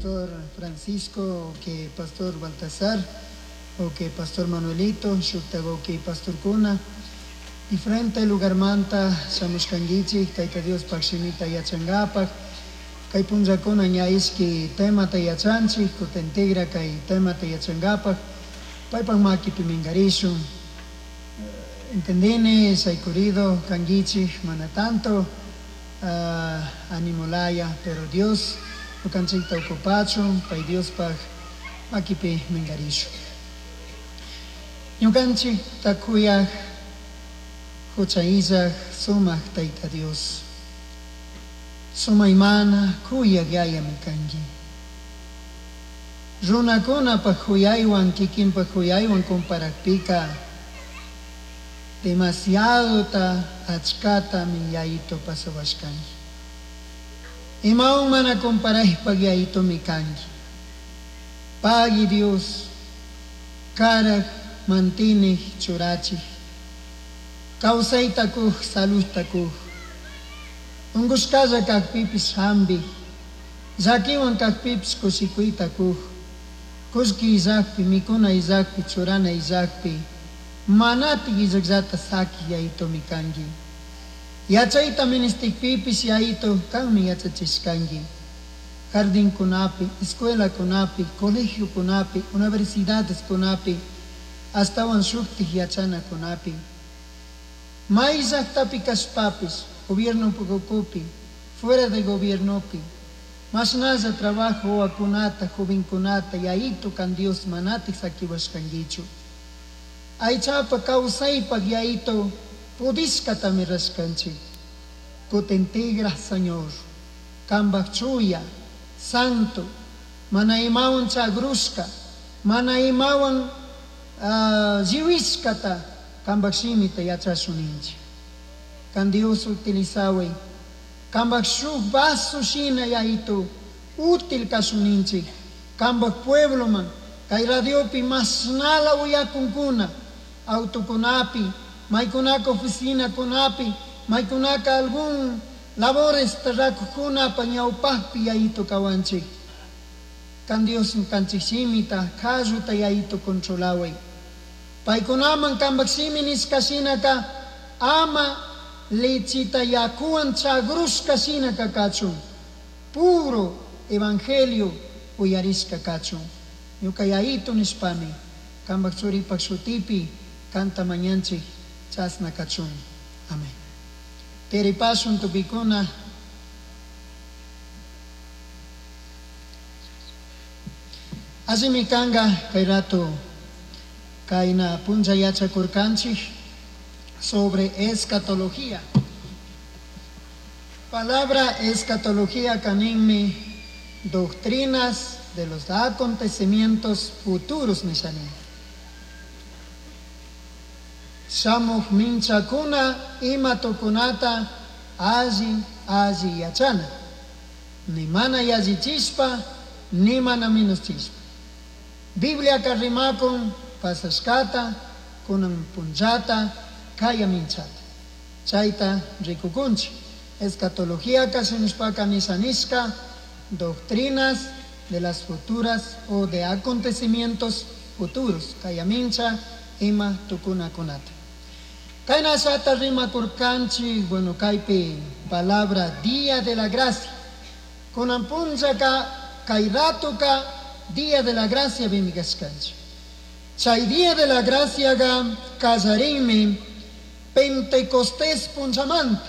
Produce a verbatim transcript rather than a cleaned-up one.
Pastor Francisco, que Pastor Baltasar, o que Pastor Manuelito, shukta que Pastor Kuna, diferente lugarmanta shamushkanguichik, Tayta Diospaj shimita yachangapak, kay punllakuna ña ishki temata yachanchik, kutin tigra kay temata yachangapak, paypak makipi mingarishun. Entendini, saykurido kanguichik, mana tanto uh, animolaya, pero Dios ñukanchikta ocupachun, pay Diospaj makipi mingarishun. Ñukanchik takuyaj hucha illaj sumaj Tayta Dios. Sumaymana kuyaj yayami kanki. Runakunapaj huyaywan kikinpaj huyaywan comparakpika demasiadota achkatami yayito pasawashkanki. Imawan mana comparaypaj yayitomi kanki. Pagui Dios, karaj mantinih churachij, kawsayta kuj, saludta kuj, unkushkalla kajpipis hampi, llakiwan kajpipis kushikuyta kuj, kullki illakpi, mikuna illakpi, churana illakpi, manatik illakllata saki yayitomi kanki. Yachayta ministikpipis yayito kanmi yachachishkanki. Jardinkunapi, escuelakunapi, colegiokunapi, universidadeskunapi, astawan shuktik yachanakunapi. May llaktapi kashpapis, gobierno ukupi, fuera de gobiernopi, mashnalla trabajo wawakunata, jovenkunata, yayito kan Dios manatik sakiwashkankichu. Aychapa kawsaypak yayito pudishkatami rashkanchik. Kutin tigra, Señor, kambaj chuya, santo, mana imawan chagrushka, mana imawan uh, lliwishkata kambaj shimita yachashuninchik. Kan Dios utilizaway, kambaj shuk vaso shina yayito útil kashuninchik, kambaj puebloman, kay radiopi mashnala uyakunkuna, autokunapi, maykunaka oficinakunapi, maykunaka algún labores tarrakujkunapa ñawpajpi yayito kawanchik. Kan Dios kanchik shimita, kalluta yayito controlaway. Paykunaman kambaj shimi nishka shinaka ama lechita yakuwan chagrushka shinaka kachun. Puro evangelio uyarishka kachun. Ñuka yayito nishpami, kambaj churipak shutipi kanta mañanchik chasna kachun. Amén. Teripashun tukikuna. Allimi kanga kay rato kayna punlla yachakurkanchik sobre escatología. Palabra escatología kaninmi doctrinas de los acontecimientos futuros nishani. Shamuj minchakuna ima tukunata alli alli yachana. Ni mana yallichishpa, ni mana minuschishpa. Biblia karrimakun pasashkata, kunan punllata, kaya minchata. Chayta rikukunchik. Escatología kashinishpaka nishanishka, doctrinas de las futuras o de acontecimientos futuros. Kaya mincha ima tukunakunata. Kayna shata rimakurkanchik, bueno, kaypi palabra día de la gracia. Kunan punllaka kay ratuka día de la gracia bimikashkanchik. Chay día de la gracia ga kallarinmi Pentecostés punchamanta.